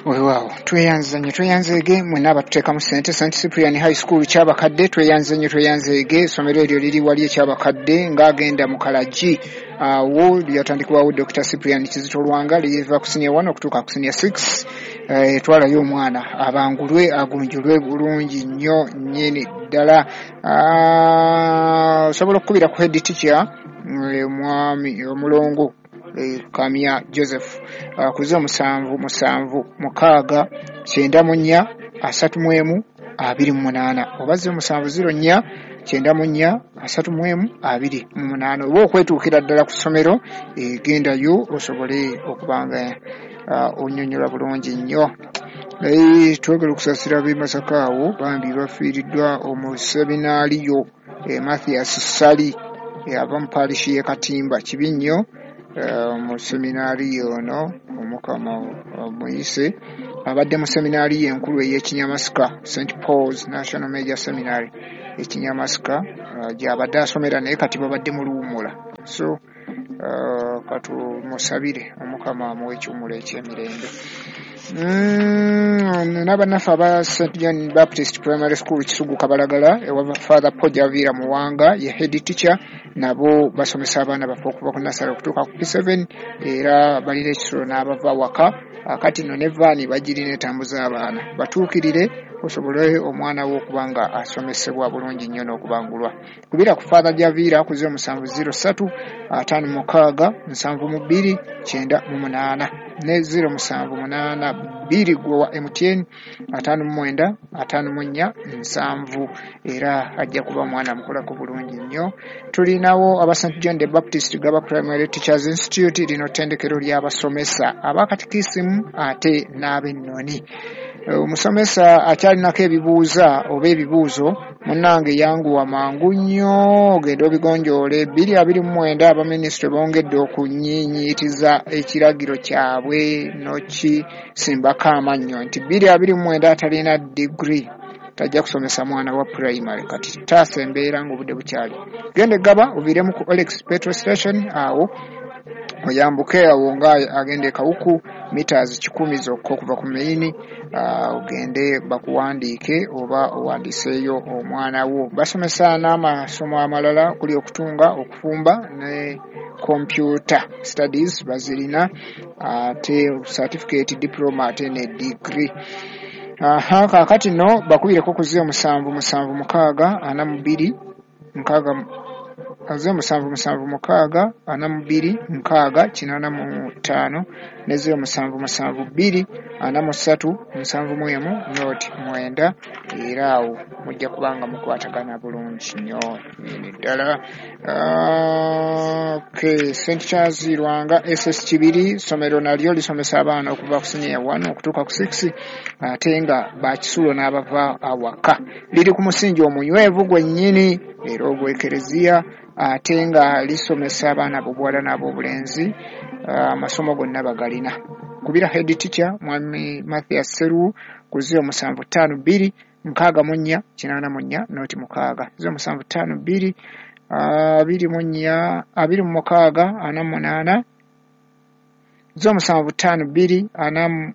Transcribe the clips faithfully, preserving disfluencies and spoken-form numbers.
Weewaawo, tweyanza nnyo, tweyanzeege mwenna abatuteekamu ssente. Saint Cyprian High School Kyabakadde, tweyanze nnyo, tweyanzeege. Essomero eryo liri wali ekyabakadde ng'agenda mu Kalagi, awo lyatandikibwawo Doctor Cyprian Kizito Lwanga, liva ku senior one okutuuka ku senior six. Twalayo omwana abangulwe, agunjulwe bulungi nnyo nnyini ddala. Osobola okukubira ku head teacher, mwami omulongo Kamya Joseph, ku zero musanvu musanvu mukaaga kyenda mu nnya asatu mu emu abiri mu munaana, oba zero musanvu zero nnya kyenda mu nnya asatu mu emu abiri mu munaana, oba okwetuukira ddala ku ssomero, gendayo osobole okuba nga onnyonnyola bulungi nnyo. Twagala okusaasira ab'e Masaka, awo bambi bafiiriddwa omuseminaaliyo Mathias Ssali ava mu paalishi y'e Katimba. Kibi nnyo, mu seminaariyo ono Omukama omuyise, abadde mu seminaariyo enkulu ey'Ekinyamasika, Saint Paul's National Major Seminary Ekinyamasika, gy'abadde asomera, naye kati babadde mu luwummula. So katumusabire Omukama amuwe ekiwummulo eky'emirembe. N'abannaffe aba Saint John Baptist Primary School Kisugu Kabalagala, ewa Father Paul Javiira Muwanga ye head teacher, nabo basomesa abaana baffe okuva ku nursery okutuuka ku P seven, era balina ekisulo n'abava waka. Kati nno ne vaani bagirina etambuza abaana, batuukirire osobole omwana wo okuba nga asomesebwa bulungi nnyo n'okubangulwa. Kubira ku Father Javiira ku zero musanvu zero ssatu ataano mukaaga nsanvu mu bbiri kyenda mu munaana ne zero musanvu munaana bbiri gwe wa M T N ataano mu mwenda ataano mu nnya nsanvu, era ajja kuba mwana mukolako bulungi nnyo. Tulinawo aba Saint John the Baptist Gaba Primary Teachers Institute, lino ttendekero ly'abasomesa abakatikisimu ate n'ab'ennoni. Omusomesa akyalinako ebibuuza oba ebibuuzo, munnange yanguwa mangu nnyo ogende obigonjoole. Bbiri abiri mu mwenda abaminisitule bongedde okunyiinyiitiza ekiragiro kyabwe n'okisimbako amannyo nti bbiri abiri mu mwenda atalina digiri tajja kusomesa mwana wa primary. Kati taasa embeera ng'obudde bukyali. Genda Gaba oviiremu ku Olex Petrol Station, awo oyambuke awo nga agenda e Kawuku, meters kikumi zokka okuva ku main, ogende bakuwandiike oba owandiiseeyo omwana wo. Basomesa n'amasomo amalala okuli okutunga, okufumba ne computer studies bazirina, ate certificate, diploma ate ne degree. Aha, kaakati nno bakubireko ku zero musanvu musanvu mukaaga ana mu bbiri nkaaga zero musanvu musanvu mukaaga ana mu bbiri nkaaga kinaana mu ttaano ne zero musanvu musanvu bbiri ana mu ssatu nsanvu mu emu noti mwenda, era awo mujja kubanga mukwatagana bulungi nnyo nnyini ddala. Okay, Saint Charles Lwanga S S Kibiri, ssomero nalyo lisomesa abaana okuva ku senior one okutuuka ku six, ate nga bakisulo n'abava awaka. Liri ku musingi omunywevu gwennyini era ogw'ekereziya, ate nga lisomesa abaana ab'obuwala n'ab'obulenzi, amasomo gonna bagalina. Kubira head teacher mwami Mathias Seru ku zero musanvu ttaano bbiri nkaaga mu nnya kinaana mu nnya noti mukaaga, zero musanvu ttaano bbiri abiri mu nnya abiri mu mukaaga ana mu munaana, zero musanvu ttaano bbiri ana mu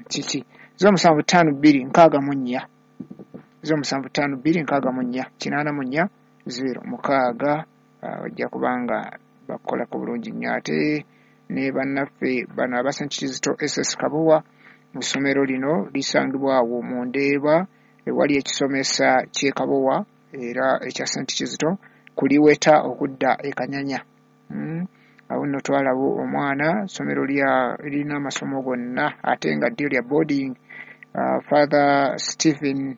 kiki zero musanvu ttaano bbiri nkaaga mu nnya, zero musanvu ttaano bbiri nkaaga mu nnya kinaana mu nnya zero mukaaga, ojja kubanga bakukolako bulungi nnyo. Ate ne bannaffe bano aba Saint Kizito S S Kabowa, mu ssomero lino lisangibwa awo mu Ndeeba ewali ekisomesa ky'e Kabowa era ekya Saint Kizito kuliweta okudda e Kanyanya. Awo nno twalaba omwana, ssomero lirina amasomo gonna ate nga ddyo lya boarding. Father Stephen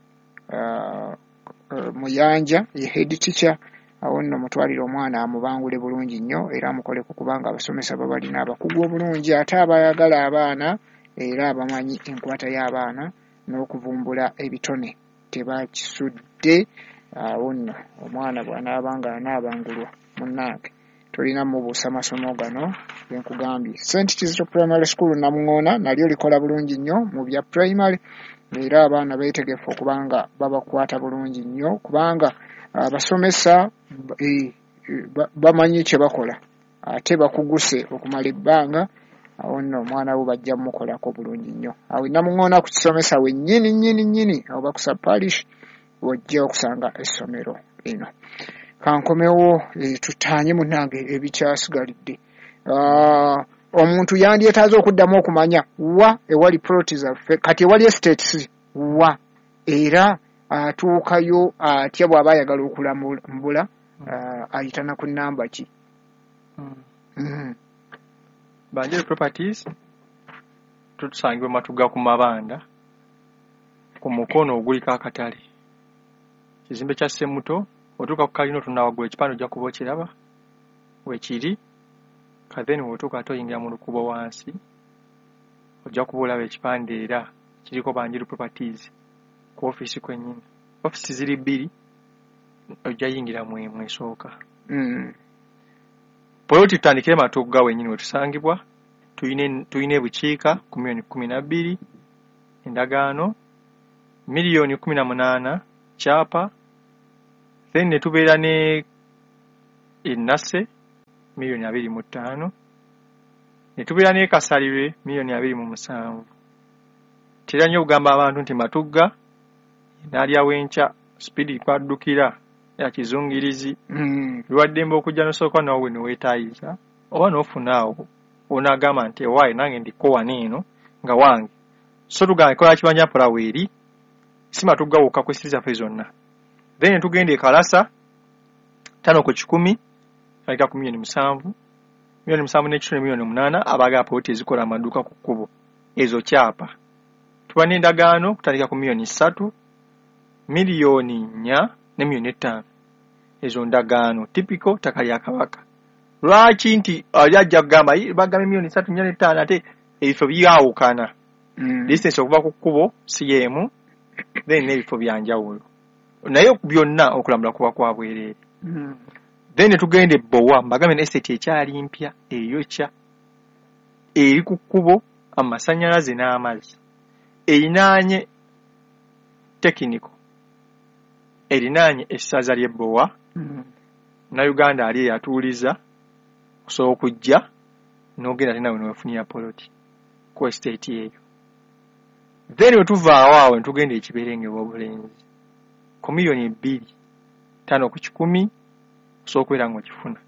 Muyanja ye head teacher, awo nno mutwalire omwana amubangule bulungi nnyo era amukoleko kubanga abasomesa babalina abakugu obulungi ate abayagala abaana era abamanyi enkwata y'abaana n'okuvumbula ebitone tebakisudde. Awo nno omwana bw'anaaba nga anaabangulwa munnange tolina mubuusa masomo gano genkugambye. Saint Kizito Primary School Namuŋŋoona nalyo likola bulungi nnyo mu bya primary, era abaana beetegefu okubanga babakwata bulungi nnyo kubanga abasomesa bamanyi kye bakola ate bakuguse okumala ebbanga, Awo nno omwana wo bajja mumukolako bulungi nnyo. Awo Namuŋŋoona ku kisomesa we nnyini nnyini nnyini, oba ku Sub-Parish wojja okusanga essomero lino. Kankomewo tutaanye munnange ebikyasigalidde. Omuntu yandyetaaze okuddamu okumanya wa ewali ploti zaffe, kati ewali estates wa, era atuukayo atya bw'aba ayagala okulambula, ayitana ku nnamba ki? Banjeru Properties tutusangibwa Matugga ku Mabanda ku mukono oguliko akatale, kizimbe kya Ssemuto. Otuuka ku kalina otunula waggulu, ekipande ojja kuba okiraba wekiri. Then w'otuuka ate oyingira mu lukubo wansi, ojja kuba olaba ekipande era kiriko Banjeru Properties ku ofiisi kwennyini. Ofiisi ziri bbiri, ojja yingira mu emu esooka. Poloti tutandikire Matugga wennyini we tusangibwa. Tuyina ebukiika ku miliyoni kkumi na bbiri endagaano, miliyoni kkumi na munaana kyapa. Then ne tubeera ne Enase miliyoni abiri mu ttaano, ne tubeera ne Kasalirwe miliyoni abiri mu musanvu. Tera nnyo okugamba abantu nti Matugga n'alyawo enkya, sipiidi kwaddukira ya kizungirizi. Lwaddembe okujja n'osooka naawe ne weetaayiza oba n'ofuna awo onaagamba nti ewaaye nange ndiko wano eno nga wange. So tugamba enkola ya kibanja mpola weeri, si Matugga wokka, ku estate zaffe zonna. Then ne tugenda e Kalasa ttaano ku kikumi, tandika ku miliyoni musanvu, miliyoni musanvu n'ekitundu, miliyoni munaana abaagala poloti ezikola amaduuka ku kkubo, ezo kyapa. Tuba n'endagaano kutandika ku miliyoni ssatu, miliyoni nnya ne miliyoni ttaano, ezo ndagaano typical ttaka lya Kabaka. Lwaki nti ali ajja kugamba bagamba miliyoni ssatu, nnya ne ttaano, ate ebifo byawukana, distance okuva ku kkubo si y'emu, then n'ebifo bya njawulo, naye byonna okulambula kuba kwa bwereere. Then ne tugenda e Bbowa, mbagambe ne estate ekyali mpya eyokya, eri ku kkubo, amasannyalaze n'amazzi, erinaanye Technical, erinaanye essaza ly'e Bbowa. Munnayuganda ali eyatuuliza osobola okujja n'ogenda ate naawe ne weefunira poloti ku estate eyo. Then bwe tuva awo awo ne tugenda e Kiberenge Wobulenzi ku miliyoni bbiri, ttaano ku kikumi osobola okubeera ng'okifuna.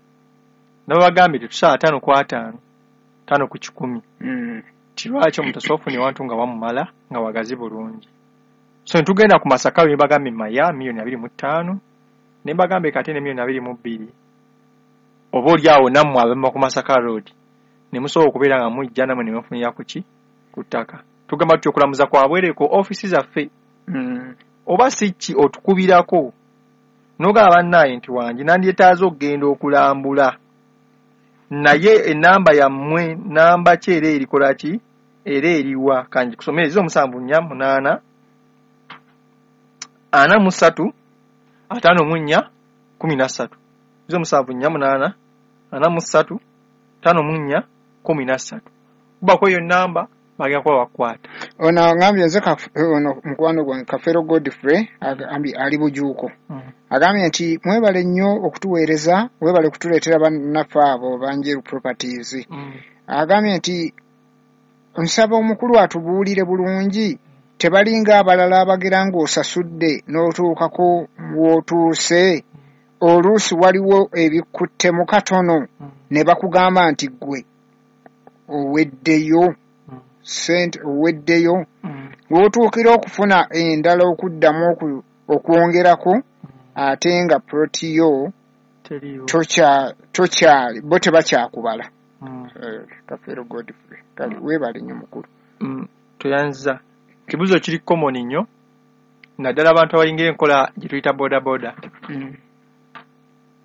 Nabagambye tetusala ttaano ku ataano, ttaano ku kikumi. Ti lwaki omuntu asobola okufuna ewantu nga wamumala nga wagazi bulungi. So ne tugenda ku Masaka ne mbagambye Maya miliyoni abiri mu ttaano, ne mbagambye kate ne miliyoni abiri mu bbiri. Oba oli awo nammwe abava ku Masaka Road ne musobola okubeera nga mujja nammwe ne mufunira ku ki? Ku ttaka. Tugamba tutya okulamuza kwa bwereere ku ofiisi zaffe. Oba si ki otukubirako n'ogamba bannaaye nti wangi nandyetaaze okugenda okulambula, naye ennamba yammwe namba ki era erikola ki era eriwa? Kangikusomere: ziro musanvu nnya munaana ana mu ssatu ataano mu nnya kkumi na ssatu, ziro musanvu nnya munaana ana mu ssatu ttaano mu nnya kkumi na ssatu. Kubako eyo nnamba bagenda kuba bakukwata. Ono agambye nze ono mukwano gwange Kafeero Godfrey agambye ali Bujuuko, agambye nti mwebale nnyo okutuweereza, mwebale kutuleetera bannaffe abo Banjeru Properties. Agambye nti nsaba omukulu atubuulire bulungi, tebalinga abalala abagira ng'osasudde n'otuukako w'otuuse, oluusi waliwo ebikuttemu katono ne bakugamba nti ggwe oweddeyo ssente, oweddeyo, w'otuukira okufuna endala okuddamu okwongerako, ate nga ploti yo tokyali, bo tebakyakubala. Kafeero Godfrey, kale weebale nnyo mukulu. Toyanza. Kibuuzo kiri common nnyo naddala abantu abayingira enkola gye tuyita boda boda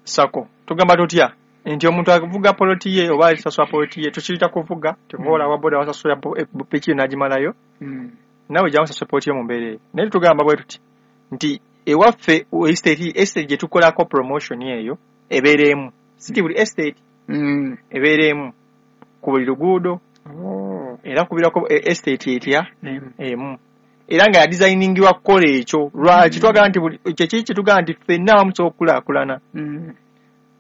sako. Tugamba tutya nti omuntu avuga poloti ye oba asasula poloti ye, tukiyita kuvuga temuwola wa boda wasasula piki n'agimalayo, naawe jangu osasule poloti yo mu mbeera eyo. Naye tugamba bwe tuti nti ewaffe estate estate gye tukolako promotion eyo ebeera emu, si buli estate ebeera emu ku buli luguudo, era kubirako estate etya emu, era nga yadesigningibwa kukola ekyo. Lwaki twagala nti kyekiri kyetugamba nti ffenna awamu tusobola okukulaakulana,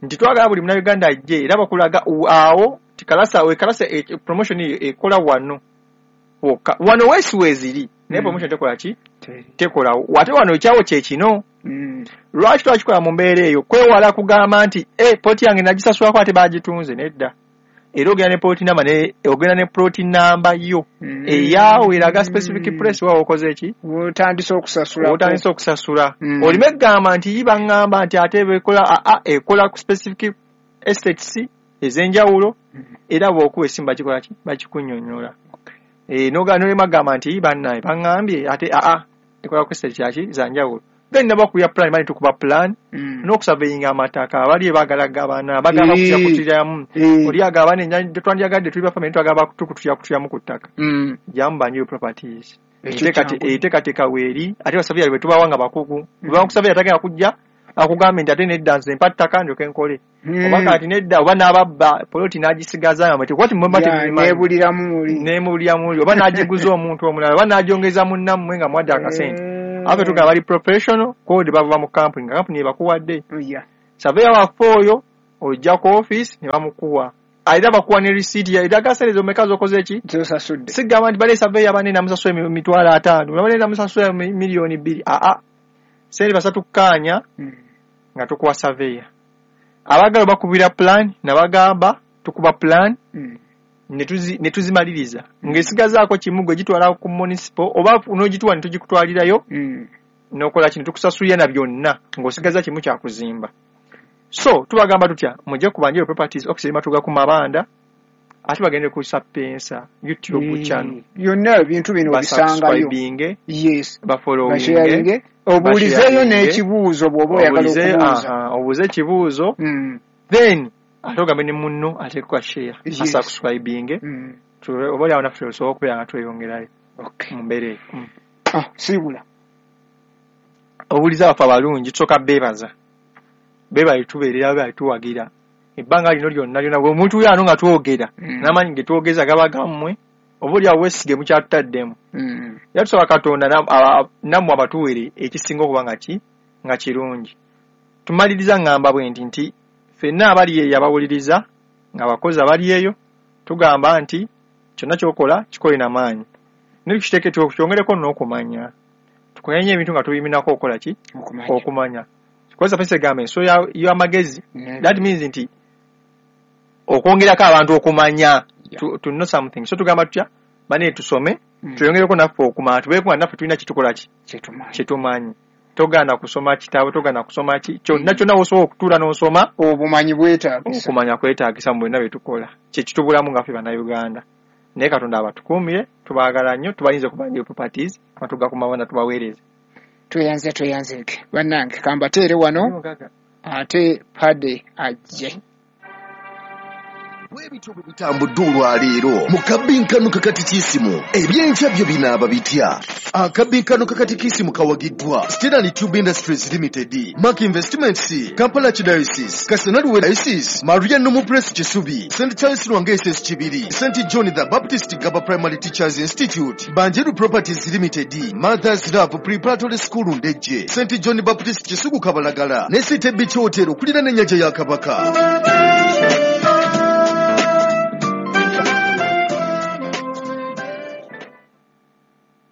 nti twagala buli munnayuganda ajje era bakulaga awo Tikalasa we kalasa e, promotion ekola wano wokka wano wesi weziri naye promotion tekola ki tekola wate wano ekyawo kye kino. Mm. Lwaki twakikola mu mbeera eyo kwewala kugamba nti eh plot yange nagisasulako ate bagitunze nedda. Era ogenda ne plot number ne ogenda ne plot number yo mm. eyaawo eraga specific place wa okoze ki otandise okusasula otandise okusasula mm. olime kugamba nti iba ngamba nti ate ekola a a ekola ku specific estates ez'enjawulo mm. era bw'okuwa esimu bakikola ki bakikunnyonnyola. Okay. Eh noga nolema kugamba nti bannaye baŋŋambye ate a a ekola ku estate kyaki za njawulo. Then nabakubya plan bali tukuba plan mm. n'okusurveyinga amataka abali baagala gabana bagamba kutya kutiramu mm. oli agabana ennya twandyagadde tuli ba family twagaba kutukutya kutiramu ku ttaka mm. jamu banyo properties enteekateeka weeri ate basurveyor bwe tubawa nga bakugu mm. bwe bakusurveyor tagenda kujja akugambe nti ate nedda nze mpa ttaka ndyoke nkole mm. oba kati nedda oba n'ababba poloti n'agisigaza nga mwete kwati mwemba temubimanyi neebuliramu muli neebuliramu muli oba n'agiguza omuntu omulala oba n'agyongeza munnammwe nga mwadde akasente mm. Abe tuga bali professional code bava mu company company bakuwadde yeah. Surveyor waffe oyo ojja ku office ne bamukuwa aida bakuwa ne receipt ya idaga sente zomeka zokoze ki zosasudde sigamba nti bale surveyor bane namusasula emitwalo ataano bane namusasula milioni bbiri a a sente basatu kanya mm. nga tukuwa surveyor abagalo bakubira plan nabagamba tukuba plan mm. netuzi netuzimaliriza ngesigazaako kimu gwe gitwala ku municipal oba n'ogituwa ne tugikutwalirayo mm. n'okola kino tukusasulira na byonna ng'osigaza kimu kya kuzimba. So tubagamba tutya mujje ku Banjiro Properties office matuga ku mabanda ate bagende ku Sapienza YouTube mm. channel yonna ebintu bino obisangayo yes bafollowinge obuulizeeyo n'ekibuuzo bw'oba oyagala okubuuza obuuze ekibuuzo mm. then ate ogambe ne munno ateekwa kwa share yes. asubscribinge mm. oba oli awo naffe osobola okubeera nga tweyongerayo okay. mu mbeera eyo mm. ah, siibula obuuliza baffe abalungi tusooka beebaza beebale tubeerera beebale tuwagira ebbanga lino lyonna lyonna bwe omuntu ano nga twogera mm. n'amaanyi ge twogeza gaba gammwe oba oli awo weesige mukyatutaddemu mm. era tusaba Katonda nammwe abatuwere ekisinga okuba nga ki nga kirungi. Tumaliriza ngamba bwe nti nti ffenna abali eyo abawuliriza ng'abakozi abali eyo tugamba nti kyonna ky'okola kikole na maanyi naye tukiteeke tukyongereko n'okumanya tukunyenye ebintu nga tubiminako okukola ki okumanya, okumanya. Kozesa pesa egamba enso y'amagezi mm. that means nti okwongerako abantu okumanya yeah. to, to know something so tugamba tutya bane tusome mm. tweyongereko naffe okumanya tubeeko nga naffe tulina kitukola ki kyetumanyi kyetumanyi togaana kusoma kitabo togaana kusoma ki kyonna kyonna osobola okutuula n'osoma obumanyi bwetaagisa okumanya kwetaagisa mu byonna bye tukola kye kitubulamu nga ffe Bannayuganda naye Katonda abatukuumire tubaagala nnyo tubayinza okuba Banjiro Properties matuga ku mabanda tubaweereze tweyanze tweyanzeeke bannange kambateere wano ate pade ajje Bwebityo bwe bitambudde olwaleero mu kabbinkano kakatikisimu ebyenkya byo binaaba bitya. Akabbinkano kakatikisimu kawagiddwa Stanley Tube Industries Limited, Mark Investments, Kampala Archdiocese, Kasanalwe Diocese, Maria Nomu Press Kisubi, Saint Charles Lwanga S S Kibiri, Saint John the Baptist Gaba Primary Teachers Institute, Banjeru Properties Limited, Mother's Love Preparatory School Ndejje, Saint John Baptist Kisugu Kabalagala, ne City Beach Hotel okuliraana ennyanja ya Kabaka.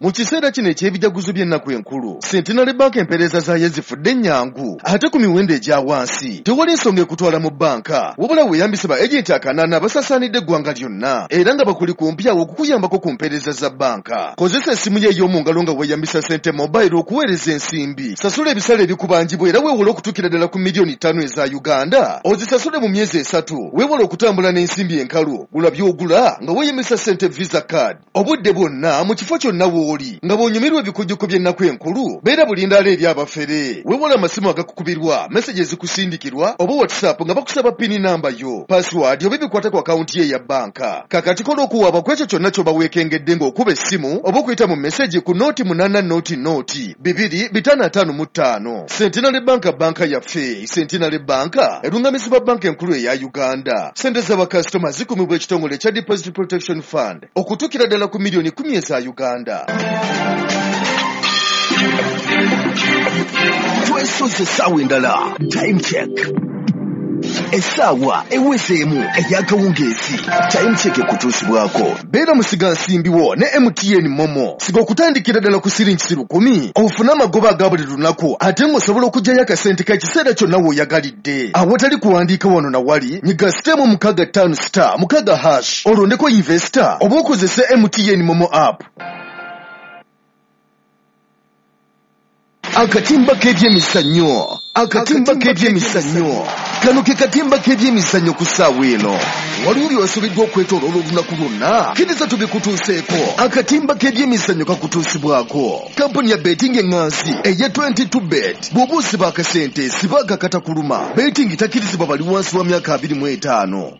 Mu kiseera kino eky'ebijaguzo by'ennaku enkulu, Centenary Bank empeereza zaayo zifudde ennyangu ate ku miwendo egya wansi. Tewali nsonga ekutwala mu bbanka, wabula weeyambise ba agenti akanaana abasaasaanidde eggwanga lyonna era nga bakuli kumpi awo okukuyambako ku mpeereza za bbanka. Kozesa essimu yo ey'omu ngalo nga weeyambisa Sente Mobile okuweereza ensimbi. Sasula ebisale ebikubanjibwa era weewole okutuukira ddala ku miliyoni ttaano eza Uganda. Ozisasule mu myezi esatu. Weewole okutambula n'ensimbi enkalu. Gula by'ogula nga weeyambisa Sente Visa Card. Obudde bwonna mu kifo kyonna w'oli nga bw'onyumirwa ebikujjuko by'ennaku enkulu beera bulindaala eri abafere. Weewale amasimu agakukubirwa, meseji ezikusindikirwa oba WhatsApp nga bakusaba pini namba yo, password oba ebikwata ku akawunti ye eya bbanka. Kakati kola okuwaaba ku ekyo kyonna ky'oba weekengedde ng'okuba essimu oba okuyita mu meseji ku nooti munaana nooti nooti bibiri bitaano ataano mu ttaano. Centenary Bank bbanka yaffe. Centenary Bank erungamizibwa bbanka enkulu eya Uganda. Ssente z'abakasitoma zikumibwa ekitongole ekya Deposit Protection Fund okutuukira ddala ku miliyoni kkumi eza Uganda. Twesoze essaawa endala. Time check. Essaawa ewezeemu ey'akawungeezi. Time Check ekutuusibwako. Beera musigansimbi wo ne M T N Momo. Siga okutandikira ddala ku siringi lukumi ofune amagoba aga buli lunaku ate ng'osobola okuggyayo akasente k'ekiseera kyonna w'oyagalidde. Awatali kuwandiika wano na wali, nyiga sitemu mukaaga ttaano star mukaaga hash olondeko investor oba okozese M T N Momo app. Akatimba k'ebyemizannyo. Akatimba k'ebyemizannyo. Kano ke katimba k'ebyemizannyo ku ssaawa eno. Waliwo by'osobeddwa okwetooloola olunaku lwonna. Kkiriza tubikutuuseeko. Akatimba k'ebyemizannyo kakutuusibwako. Kampuni ya betting eŋŋanzi eya twenty-two bet. Bw'oba osiba akasente siba akakatakuluma. Betting takkirizibwa bali wansi wa myaka abiri mu etaano.